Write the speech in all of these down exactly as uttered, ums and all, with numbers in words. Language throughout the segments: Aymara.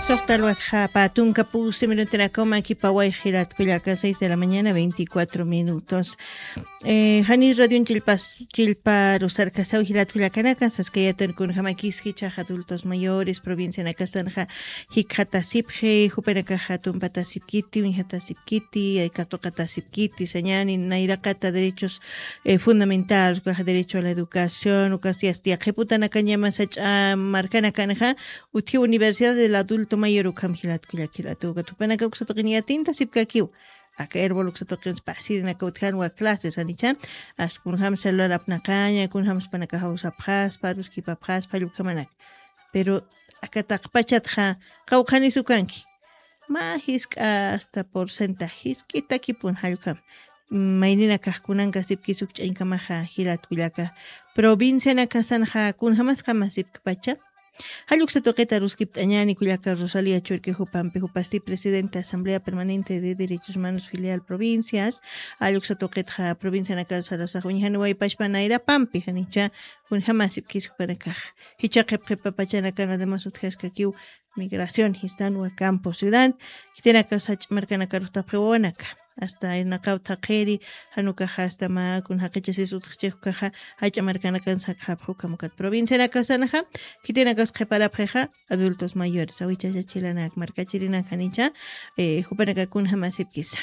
Soxta alwatxa patunka pusi minutinakaw makipaway jilat kullaka seis de la mañana veinticuatro minutos. Eh, jani radion chillpas chillparusarkasaw jilat kullakanaka saskayatan kunjamakis jichax adultos mayores provincianakasanxa jikxatasipxi jupanakaxa tumpatasipkiti uñjatasipkiti katuqatasipkiti sañani nayraqata derechos eh, fundamentales ukaxa derecho a la educación ukasti asti yaqhiputanakañama sach'a markanakanxa utji universidad del adulto mayor ukham jilat kullak jilat uka tupanaka uksa tuqin yatintasipkakiw aka herbol uksa tuqin pasirinaka utjanwa clases janicha askunjam celular apnaqaña kunjam spanakaxa usapxaspa aruskipapxaspa jallukhamanaka pero aka taqpachatxa qawqhanis ukanki mä jisk'a asta porcentaje jisk'itakipun jallukam mayninakax kunankasipkis ukch'añkamaxa jilat kullaka provincianakasanxa kunjamasqamasipkpacha jalluksa tuqita ruskipt'añani kullaka rosalia churki jupampi jupasti presidente asamblea permanente de derechos humanos filial provincias jalluksa tuqitxa provincianakar sarasax uñjaniwaypashpa nayrapampi janicha kunjamasipkis jupanakax jicha qhipqhipapachanakan además utjaskakiw migración jistanwa campo ciudad khitinaka sach'a markanakarux tapxi wawanaka asta irnaqaw thaqhiri janukaxa asta mä kun jaqichasis utjchix ukaxa jach'a markanakan sakxapxi ukham ukat provincianakasanxa khitinakas qhiparapxixa adultos mayores awichachachilanak markachirinak janicha eh, jupanaka kunjamasipkisa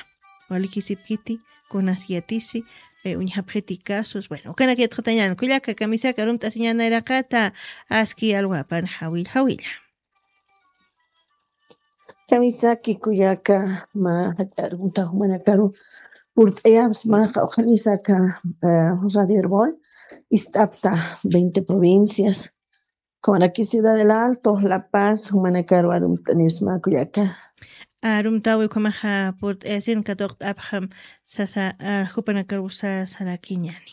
walikisipkiti kunas yatisi eh, uñjapxiti casos bueno ukanak yatxatañan kullaka kamisaka arumt'asiñanayraqata aski alwapan jawil jawilla Kamisaki kullaka mä jach'arunta jumanakaru purt'ayapsma qawqhanisaka eh, radio herbol ist'apta veinte provincias kawanaki ciudad del alto la paz jumanakaru arumt'anipsma kullaka arumtawi ukhamaxa purt'ayasin katuqt'apxam sasa jupanakarwsa sarakiñani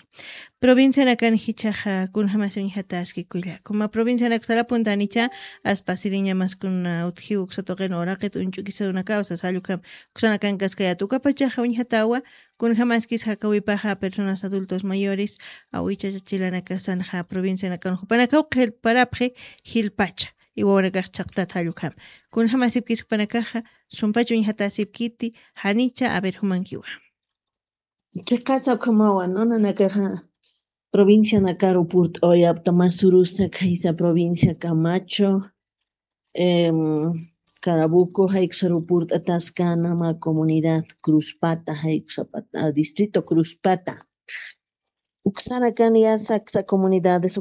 provincianakan jichaxa kunjamasi uñjataski kulla kuma provincianak sarapuntanicha aspasiriñamaskuna utjiw uksa tuqin uraqit uñch'ukisawunakaw sasa jallukam uksanakankasqa yatukapachaxa uñjatawa kunjamaskis jakawipaxa personas adultos mayores awichachachilanakasanxa provincianakan jupanakaw qhilparapxi jilpacha iwawanakax chhaqtat jallukam kunjamasipkis jupanakaxa sumpach uñjatasipkiti janicha aver jumankiwa Chiqasa ukhamawa nunanakaxa provincianakaru purt'awayapta masurusa khaysa provincia Camacho, em, Carabuco, jaykusaru purt'ataskana mä comunidad Cruzpata, jaykusapata, distrito Cruzpata. Uksanakan yasa aksa comunidades